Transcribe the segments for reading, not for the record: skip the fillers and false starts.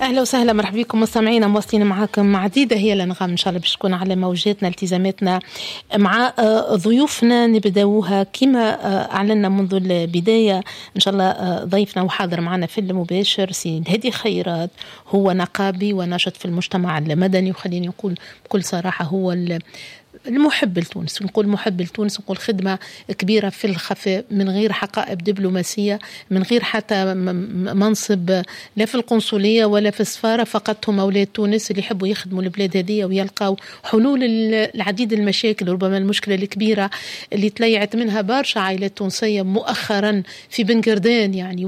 اهلا وسهلا، مرحبا بكم مستمعينا، مواصلين معاكم عديدة هي الانغام ان شاء الله باش تكون على موجاتنا. التزاماتنا مع ضيوفنا نبداوها كما اعلنا منذ البدايه. ان شاء الله ضيفنا وحاضر معنا في المباشر سي الهادي خيرات، هو نقابي وناشط في المجتمع المدني، وخليني نقول بكل صراحة هو المحب لتونس. نقول محب لتونس، نقول خدمة كبيرة في الخفاء من غير حقائب دبلوماسية، من غير حتى منصب لا في القنصلية ولا في السفارة، فقط هم أولاد تونس اللي يحبوا يخدموا البلاد هذه ويلقاو حلول العديد المشاكل. ربما المشكلة الكبيرة اللي تليعت منها برشا عائلات تونسية مؤخرا في بن قردان، يعني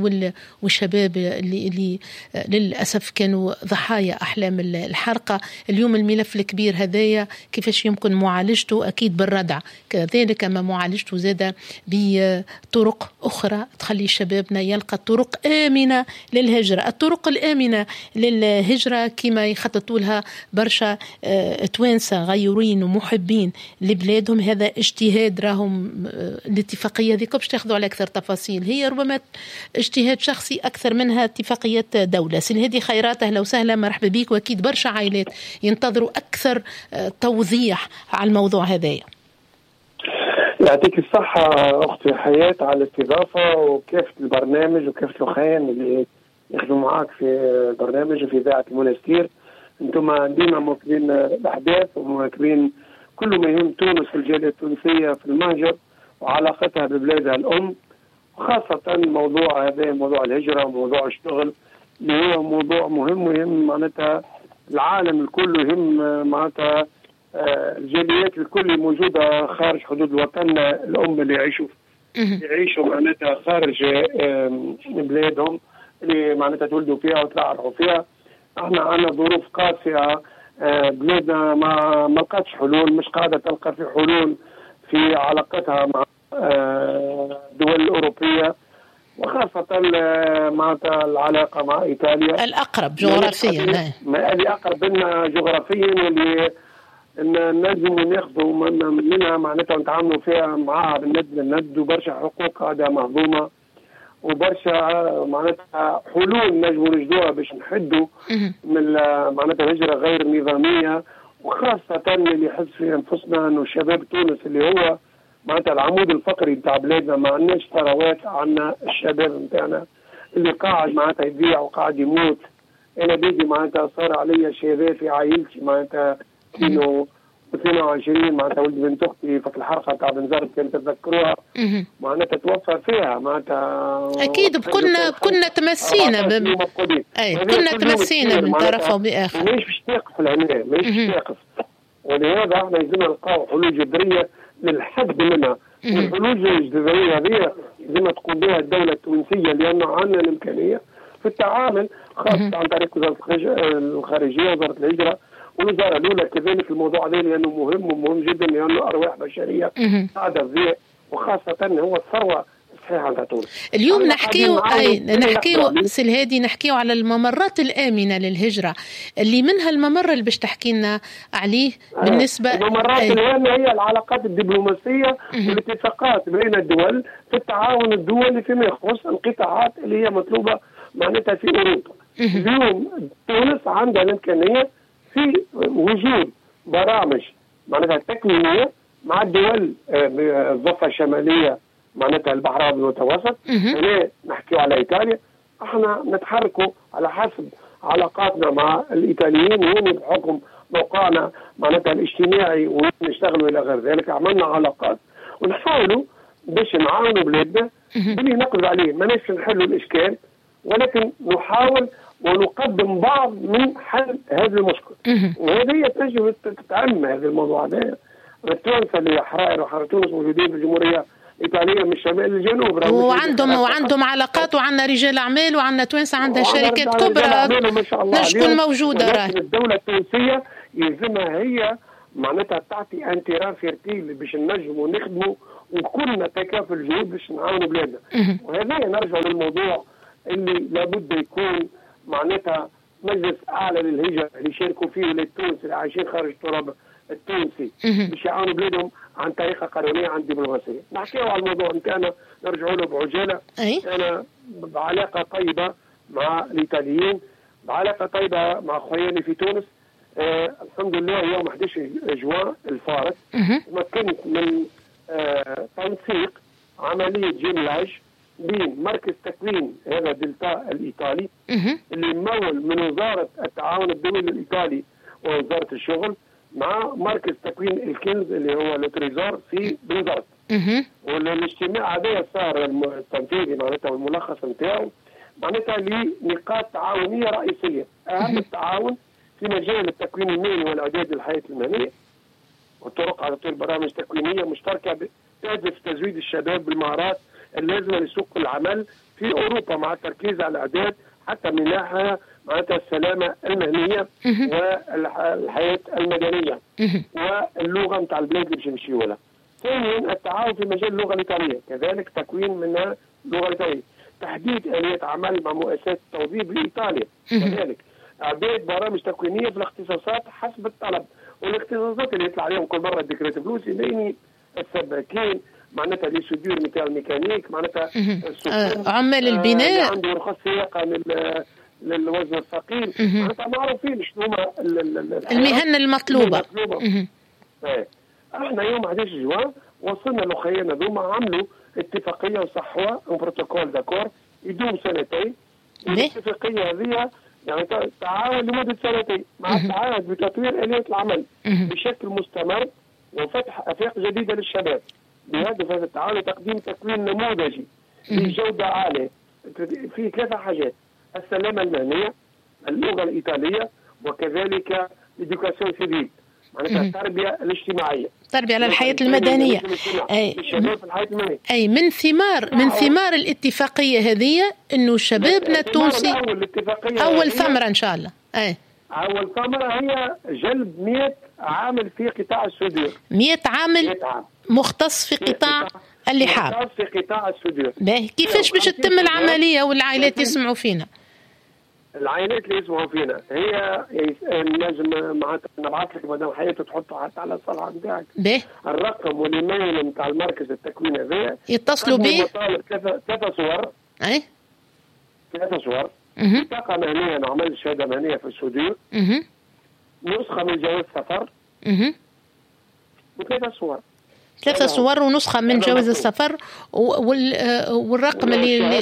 والشباب اللي للأسف كانوا ضحايا أحلام الحرقة. اليوم الملف الكبير هذايا كيفاش يمكن معالجته؟ أكيد بالردع، كذلك ما معالجته زادة بطرق أخرى تخلي شبابنا يلقى طرق آمنة للهجرة. الطرق الآمنة للهجرة كما يخططوا لها برشا توانسة غيورين ومحبين لبلادهم، هذا اجتهاد راهم. الاتفاقية ذيك باش تاخذوا على أكثر تفاصيل، هي ربما اجتهاد شخصي أكثر منها اتفاقية دولة. سي الهادي خيرات، أهلا وسهلا، مرحبا بك. وأكيد برشا عائلات ينتظروا أكثر توضيح على الموضوع هذايا. يعطيك الصحة أختي حياة على الاستضافة وكافة البرنامج وكافة الأخوان اللي يخدموا معاك في البرنامج وفي إذاعة المنستير. أنتم ديما مواكبين الأحداث ومواكبين كل ما يهم تونس والجالية التونسية في المهجر وعلاقتها ببلادها الأم، وخاصة موضوع هذا، موضوع الهجرة وموضوع الشغل اللي هو موضوع مهم ويهم معناتها العالم الكل، يهم معناتها الجاليات الكل موجودة خارج حدود الوطن الأم اللي يعيشوا معناتها خارج بلادهم اللي معناتها تولدوا فيها وترعرعوا فيها. احنا عندنا ظروف قاسية، بلادنا ما لقاتش حلول، مش قاعدة تلقى في حلول في علاقتها مع الدول الأوروبية، وخاصة معناتها العلاقة مع إيطاليا الأقرب جغرافيا، اللي أقرب لنا جغرافيا واللي نجموا ناخذوا منها معناتها ونتعاملوا فيها معاها بالند للند، وبرشا حقوق قاعدة مهضومة وبرشا معناتها حلول نجموا نجدوها باش نحدوا من معناتها الهجرة غير النظامية، وخاصة اللي يحس في أنفسنا أنه شباب تونس اللي هو معناتها العمود الفقري نتاع بلادنا، ما عندناش ثروات، عندنا الشباب نتاعنا اللي قاعد معناتها يضيع وقاعد يموت. أنا بيدي معناتها صار علي شباب في عائلتي معناتها 22 معناتها ولد بنت اختي في الحرقة تاع بنزرت كانت تتذكروها معناتها توفى فيها معناتها. اكيد كنا تمسينا اي كنا تمسينا من طرف او باخر. ماهيش باش تقف لهنا، ماهيش باش تقف، ولهذا احنا لازمنا نلقاو حلول جذرية للحد منها. والحلول الجذرية هذه لازم تقوم بها الدولة التونسية، لانه عندنا الامكانية في التعامل خاصة عن طريق وزارة الخارجية وزارة الهجرة والوزارة الاولى كذلك. الموضوع هذا لانه مهم ومهم جدا، لانه ارواح بشرية قاعدة تضيع، وخاصة هو الثروة الصحيحة نتاع تونس. اليوم نحكيو نحكيو سي الهادي، نحكيو على الممرات الامنة للهجرة اللي منها الممر اللي باش تحكي لنا عليه بالنسبة الممرات الامنة هي العلاقات الدبلوماسية والاتفاقات بين الدول في التعاون الدولي فيما يخص القطاعات اللي هي مطلوبه معناتها في اوروبا. اليوم تونس عندها الامكانية في وجود برامج معناتها تكوينيه مع الدول الضفة الشمالية معناتها البحر الابيض المتوسط. هنا نحكيو على ايطاليا، احنا نتحركوا على حسب علاقاتنا مع الايطاليين هون بحكم موقعنا معناتها الاجتماعي ونشتغلوا الى غير ذلك. عملنا علاقات ونحاولوا باش نعاونوا بلادنا باللي نقدر عليه، ماناش نحلوا الاشكال ولكن نحاول ونقدم بعض من حل هذا المشكل. وهذه تجب تتعم هذا الموضوع هذا. التوانسة اللي حرائر وحرائر تونس موجودين في الجمهورية الايطالية من الشمال للجنوب، وعندهم علاقات، وعندنا رجال اعمال، وعندنا توانسة عندها شركات كبرى تكون موجودة. ولكن الدولة التونسية يلزمها هي معناتها تعطي un terrain fertile باش نجموا نخدموا وكلنا تكافل الجهود باش نعاونوا بلادنا. وهذا نرجع للموضوع اللي لابد يكون معناتها مجلس اعلى للهجرة اللي يشاركوا فيه ولاد تونس اللي عايشين خارج التراب التونسي باش يعاونوا بلادهم عن طريقه قانونية عن دبلوماسية. نحكيو على الموضوع نتاعنا نرجعوا له بعجاله. انا بعلاقة طيبة مع الايطاليين بعلاقة طيبة مع خوياني في تونس. الحمد لله يوم 11 جوان الفارط تمكنت من تنسيق عملية jumelage بين مركز تكوين هذا دلتا الايطالي اللي ممول من وزارة التعاون الدولي الايطالي ووزارة الشغل مع مركز تكوين الكنز اللي هو Le Trésor في بنزرت. والاجتماع هذا صار التنفيذي معناتها والملخص نتاعو معناتها لنقاط تعاونية رئيسية، اهم التعاون في مجال التكوين المهني والاعداد للحياة المهنية والطرق على تطوير برامج تكوينيه مشتركة تهدف تزويد الشباب بالمهارات اللازمة لسوق العمل في اوروبا مع التركيز على الاعداد حتى من ناحية معناتها السلامة المهنية والحياة المدنية واللغة نتاع البلاد اللي باش نمشيو لها. ثانيا التعاون في مجال اللغة الايطالية، كذلك تكوين من اللغة الايطالية، تحديد اليات عمل مع مؤسسات التوظيف بايطاليا، كذلك اعداد برامج تكوينيه في الاختصاصات حسب الطلب، والاختصاصات اللي يطلع عليهم كل مرة décret فلوس يبين السباكين معناتها les soudeurs نتاع الميكانيك معناتها عمال البناء عنده رخص سياقه للوزن الثقيل معناتها معروفين شنو هما المهن المطلوبة. احنا يوم 11 جوان وصلنا لخينا ذوما عملوا اتفاقية وصحوها un protocole d'accord يدوم سنتين. الاتفاقية هذه يعني تعاون لمدة سنتين مع التعهد بتطوير اليات العمل بشكل مستمر وفتح افاق جديدة للشباب بهدف هذا التعاون تقديم تكوين نموذجي بجوده عالية في ثلاثة حاجات: السلامة المهنية، اللغة الايطالية، وكذلك l'éducation civique معناتها التربية الاجتماعية، التربية على الحياة المدنية. اي الشباب في الحياة المدنية. اي من ثمار الاتفاقية هذه انه شبابنا التونسي اول ثمره ان شاء الله. اي اول ثمره هي جلب 100 عامل في قطاع ال soudure. 100 عامل، 100 عامل مختص في قطاع اللحام، مختص في قطاع ال soudure. باهي، كيفاش باش تتم العملية والعائلات يسمعوا فينا؟ العائلات اللي يسمعوا فينا هي نجم معناتها نبعث لك مدام حياة تحطه حتى على الصفحة نتاعك. الرقم والايميل نتاع المركز التكوين هذايا. يتصلوا به. ثلاثة صور. ثلاثة صور. بطاقة مهنية نعمل شهادة مهنية في ال soudure. نسخه من جواز سفر. وثلاثة صور. ثلاثة صور ونسخة من جواز السفر والرقم اللي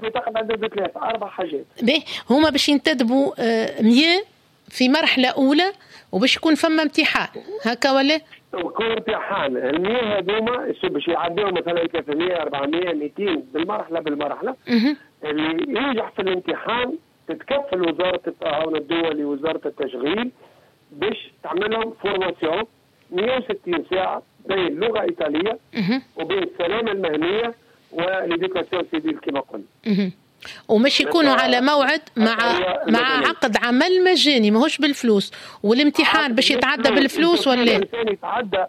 ثلاثة أربع حاجات. به، هما باش ينتدبوا 100 في مرحلة أولى وباش يكون فما امتحان هكا ولا؟ يكون امتحان، ال 100 هذوما باش يعديو مثلا 300 400 200 بالمرحلة بالمرحلة. اللي ينجح في الامتحان تتكفل وزارة التعاون الدولي وزارة التشغيل باش تعمل لهم formation 160 ساعة بين اللغة الايطالية وبين السلامة المهنية و l'éducation civile كما قلنا. ومش يكونوا على موعد مع عقد عمل مجاني ماهوش بالفلوس، والامتحان باش يتعدى بالفلوس ولا؟ الانسان يتعدى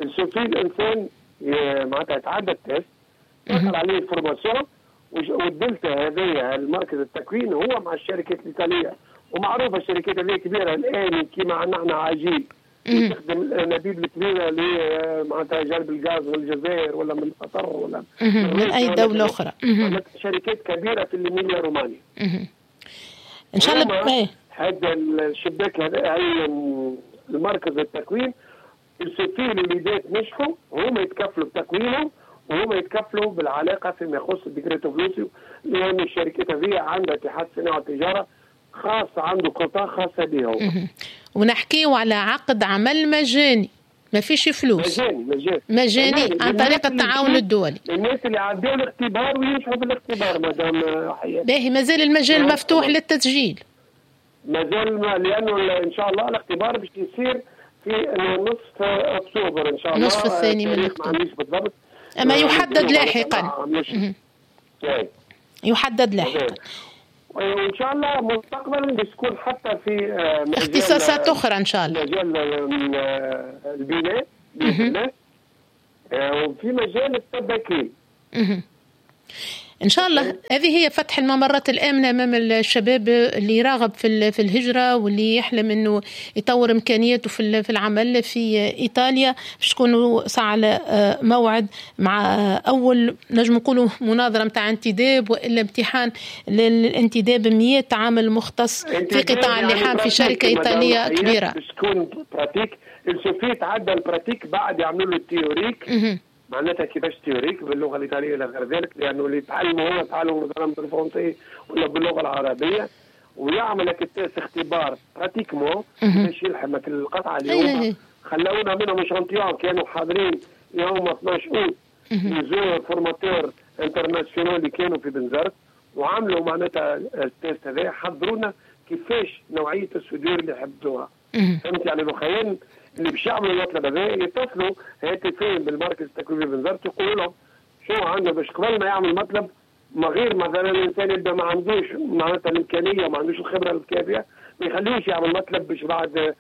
suffit الانسان معناتها يتعدى ال test، دخل عليه ال formation، والدلتا هذه المركز التكوين هو مع الشركات الايطالية، ومعروفة الشركات هذه كبيرة الان كيما عندنا احنا عجيب تخدم الانابيب الكبيرة اللي معناتها جلب الغاز من الجزائر ولا من قطر ولا من اي دولة اخرى. شركات كبيرة في الإيميليا رومانيا. ان شاء الله. هذا الشباك هذا هي المركز التكوين il suffit الوليدات نجحوا هما يتكفلوا بتكوينهم وهما يتكفلوا بالعلاقة فيما يخص ال decreto flussi، لان الشركات هذه عندها اتحاد صناعة والتجارة خاص، عنده قطاع خاصة به هو. ونحكيو على عقد عمل مجاني، ما فيش فلوس. مجاني مجاني. مجاني عن طريق التعاون الدولي. الناس اللي عدوا الاختبار وينجحوا في الاختبار مادام حياة. باهي، مازال المجال مفتوح للتسجيل؟ مازال، لانه ان شاء الله الاختبار باش يصير في نصف اكتوبر ان شاء الله. نصف الثاني من اكتوبر. بالضبط. اما يحدد لاحقا، يحدد لاحقا. وان شاء الله مستقبلا باش تكون حتى في اختصاصات اخرى ان شاء الله. مجال البناء باذن الله وفي مجال السباكين. إن شاء الله هذه هي فتح الممرات الآمنة أمام الشباب اللي يراغب في الهجرة واللي يحلم أنه يطور إمكانياته في العمل في إيطاليا، باش تكونوا ساعة على موعد مع أول نجم نقولوا مناظرة متاع انتداب وإلا امتحان للانتداب 100 عامل مختص في قطاع اللحام في شركة إيطالية كبيرة. باش تكون pratique، il suffit تعدى ال pratique بعد يعملوا له ال théorique، معناتها كيفاش théorique باللغة الايطالية الى غير ذلك، لانه اللي يتعلموا هو تعلموا مثلا بالفرنسي ولا باللغة العربية، ويعمل لك ال test اختبار pratiquement باش يلحمك القطعة اللي هما خلونا منهم échantillon كانوا حاضرين يوم 12 اوت les formateurs internationaux اللي كانوا في بنزرت وعملوا معناتها ال test هذا، حضرونا كيفاش نوعية ال soudure اللي يحبوها. فهمت يعني الخيال اللي باش يعملوا المطلب هذا يتصلوا هاتفيا بالمركز التكويني بنزرت يقولوا لهم شو عنده، باش قبل ما يعمل مطلب ما غير مثلا الانسان يبدا ما عندوش معناتها الامكانية وما عندوش الخبرة الكافيه ما يخليوش يعمل مطلب باش بعد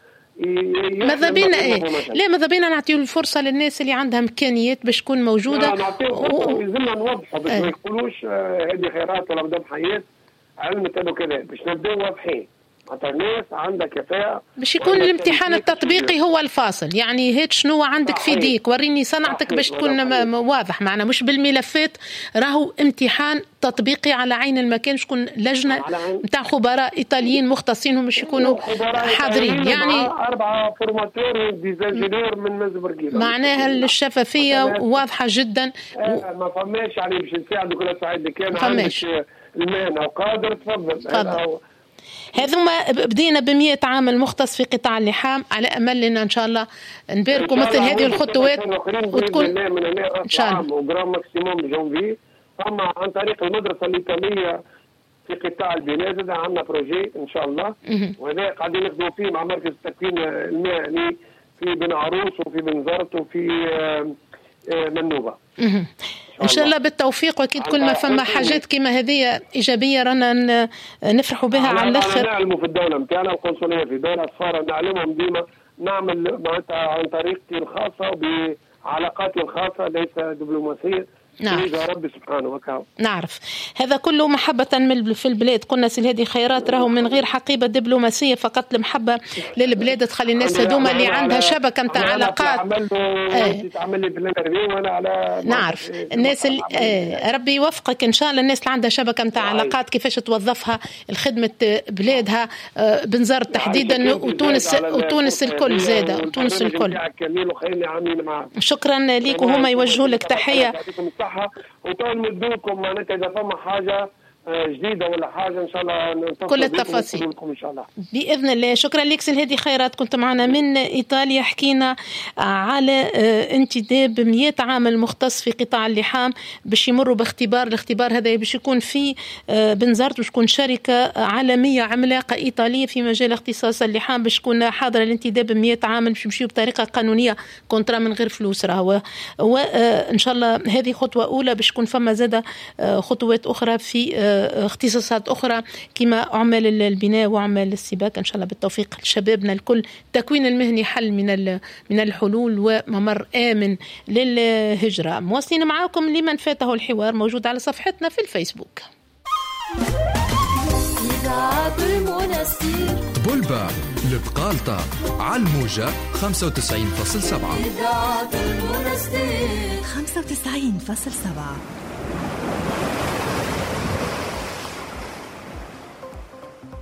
ماذا بينا ايه؟ لا ماذا بينا نعطيو الفرصة للناس اللي عندها امكانيات باش تكون موجودة. نعطيو لازمنا نوضحوا باش ما يقولوش هذه خيرات ولا مدام حياة علمت انه كذا، باش نبداو واضحين. الناس عندها كفاءة باش يكون الامتحان التطبيقي هو الفاصل، يعني هات شنو عندك في ديك وريني صنعتك باش تكون واضح معنا، مش بالملفات. راهو امتحان تطبيقي على عين المكان، شكون لجنة نتاع خبراء إيطاليين مختصين هم باش يكونوا حاضرين، يعني 4 formateurs des ingénieurs من مزبرقيل، معناها الشفافية واضحة جدا. ما فماش يعني باش نساعدوا كل سعيد كان عندك المهنة وقادر تفضل. هذوما بدينا ب100 عامل مختص في قطاع اللحام، على امل ان ان شاء الله نباركوا مثل هذه الخطوات وتكون ان شاء الله و grand maximum janvier. فما عن طريق المدرسة الايطالية في قطاع البناء زاد عندنا projet ان شاء الله، وهذا قاعدين نخدموا فيه مع مركز التكوين المهني في بن عروس وفي بنزرت وفي منوبه. ان شاء الله بالتوفيق، واكيد كل ما فما حاجات كما هذه ايجابية رانا نفرحوا بها على الاخر. نعلموا في الدولة نتاعنا القنصليه في دولة السفارة نعلمهم ديما، نعمل معناتها عن طريقتي الخاصة وبعلاقاتي الخاصة ليس دبلوماسية. نعم ربي سبحانه وتعالى. نعرف هذا كله محبة في البلاد. قلنا سي الهادي خيرات راهو من غير حقيبة دبلوماسية، فقط المحبة للبلاد تخلي الناس هذوما اللي عندها شبكة نتاع علاقات. تعمل لي في ال interview وانا على نعرف الناس اللي ربي يوفقك ان شاء الله. الناس اللي عندها شبكة نتاع علاقات كيفاش توظفها لخدمة بلادها، بنزرت تحديدا وتونس الكل زادة، وتونس الكل. شكرا ليك، وهما يوجهوا لك تحية. وتو معناتها اذا فما حاجة جديدة ولا حاجة ان شاء الله كل التفاصيل ان شاء الله باذن الله. شكرا لك سي الهادي خيرات، كنت معنا من ايطاليا. حكينا على انتداب 100 عامل مختص في قطاع اللحام باش يمروا باختبار، الاختبار هذا باش يكون في بنزرت، باش تكون شركة عالمية عملاقة ايطالية في مجال اختصاص اللحام باش تكون حاضره الانتداب 100 عامل باش يمشيو بطريقة قانونية، contrat من غير فلوس راهو. وان شاء الله هذه خطوة اولى باش تكون فما زاده خطوات اخرى في اختصاصات أخرى كما عمال البناء وعمال السباك. إن شاء الله بالتوفيق لشبابنا الكل. التكوين المهني حل من الحلول وممر آمن للهجرة. مواصلين معاكم لمن فاته الحوار موجود على صفحتنا في الفيسبوك. بولبا البقالطة على الموجة 95.7. 95.7.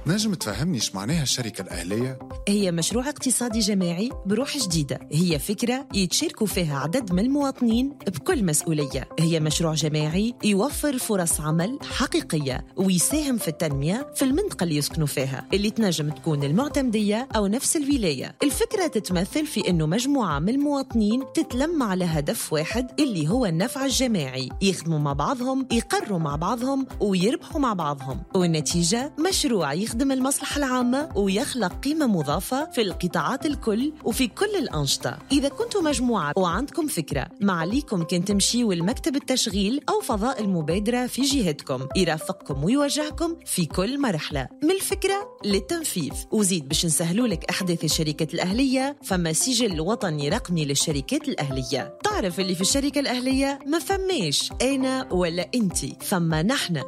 نجم تفهمني ايش معناها الشركة الأهلية؟ هي مشروع اقتصادي جماعي بروح جديدة، هي فكرة يتشاركوا فيها عدد من المواطنين بكل مسؤولية. هي مشروع جماعي يوفر فرص عمل حقيقية ويساهم في التنمية في المنطقة اللي يسكنوا فيها، اللي تنجم تكون المعتمدية أو نفس الولاية. الفكرة تتمثل في أنه مجموعة من المواطنين تتلم على هدف واحد اللي هو النفع الجماعي، يخدموا مع بعضهم، يقروا مع بعضهم، ويربحوا مع بعضهم، والنتيجة مشروع يخدم المصلحة العامة ويخلق قيمة مضافة النظافة، في القطاعات الكل وفي كل الأنشطة. إذا كنتم مجموعة وعندكم فكرة، ما عليكم كان تمشيوا لمكتب التشغيل أو فضاء المبادرة في جهتكم، يرافقكم ويوجهكم في كل مرحلة من الفكرة للتنفيذ. وزيد باش نسهلوا لك أحداث الشركات الأهلية، فما سجل وطني رقمي للشركات الأهلية. تعرف اللي في الشركة الأهلية ما فماش أنا ولا أنتي، فما نحن.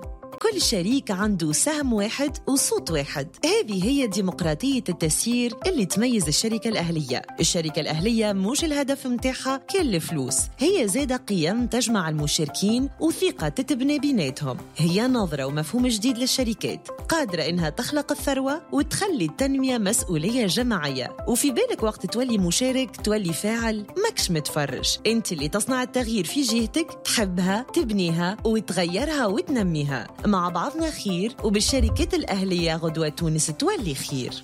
كل شريك عنده سهم واحد وصوت واحد. هذه هي ديمقراطية التسيير اللي تميز الشركة الأهلية. الشركة الأهلية مش الهدف متاعها كل الفلوس، هي زادة قيم تجمع المشاركين وثقة تتبنى بيناتهم. هي نظرة ومفهوم جديد للشركات، قادرة إنها تخلق الثروة وتخلي التنمية مسؤولية جماعية. وفي بالك وقت تولي مشارك تولي فاعل، ماكش متفرج، انت اللي تصنع التغيير في جهتك، تحبها تبنيها وتغيرها وتنميها. مع بعضنا خير، وبالشركات الأهلية غدوة تونس تولي خير.